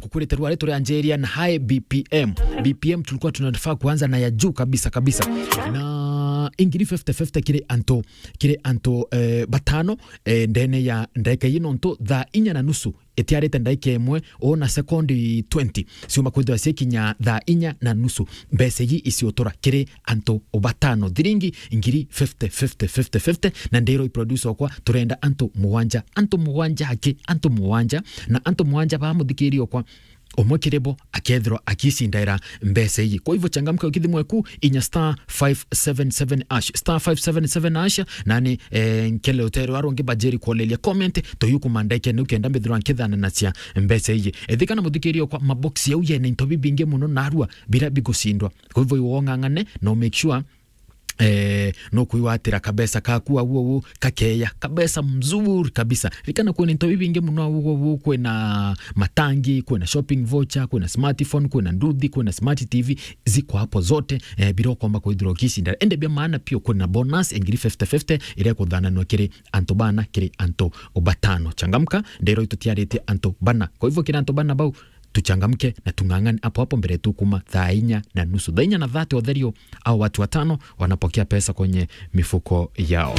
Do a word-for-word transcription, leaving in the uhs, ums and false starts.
Kukurite rwari turi anjiria na high B P M. B P M tulikuwa tunafaa kuanza na ya juu kabisa kabisa. Na ingiri fifty fifty kiri antu, kiri antu, eh, batano, eh, ndene ya ndagika ii, nontu thaa inya na nusu itiarite ndagika imwe, o na sekondi twenty ciuma kwithirwa cikinya thaa inya na nusu. Mbeca iji iciotura kiri antu batano, thiringi ngiri fifty, fifty, fifty, fifty, na ndiro i producer okwa, turenda antu mugwanja, antu mugwanja haki, antu mugwanja, na antu mugwanja ba muthikiri okwa, umwe kiri bo akethirwa akicindaira mbeca iji. Kwa hivyo changamka, ukithimwe ku inya star five seven seven hash, star five seven seven hash, nani, eh, nkele utere wa rungi bajeri kuoleria comment, toyuku mandeke ni ukenda mbithirwa nkithana na cia mbeca iji. Ethikana muthikiri okwa, mabox yau yene into bibingi muno narua bira bigucindwa. Kwa hivyo iwe ong'ang'ane na u make sure, eh, no kuiwatira kabesa kaku au au kakeya, kabesa mzuri kabisa. Rikana kwina into bibingi muno au au, kwina matangi, kwina shopping voucher, kwina smartphone, kwina nduthi, kwina smart T V, ziko hapo zote, eh, bira ukomba kwithirwa ukicinda. Ende bia maana pio, kwina bonus engiri fifty fifty iria kuthananwa kiri antu bana, kiri antu batano. Changamka, ndero itutiaritie antu bana. Kwa hivyo kiri antu bana bau, tuchangamke na tung'ang'ane hapo hapo mbere tu kuma thaa inya na nusu. Thaa inya na thirty utherio, au watu watano wanapokea pesa kwenye mifuko yao.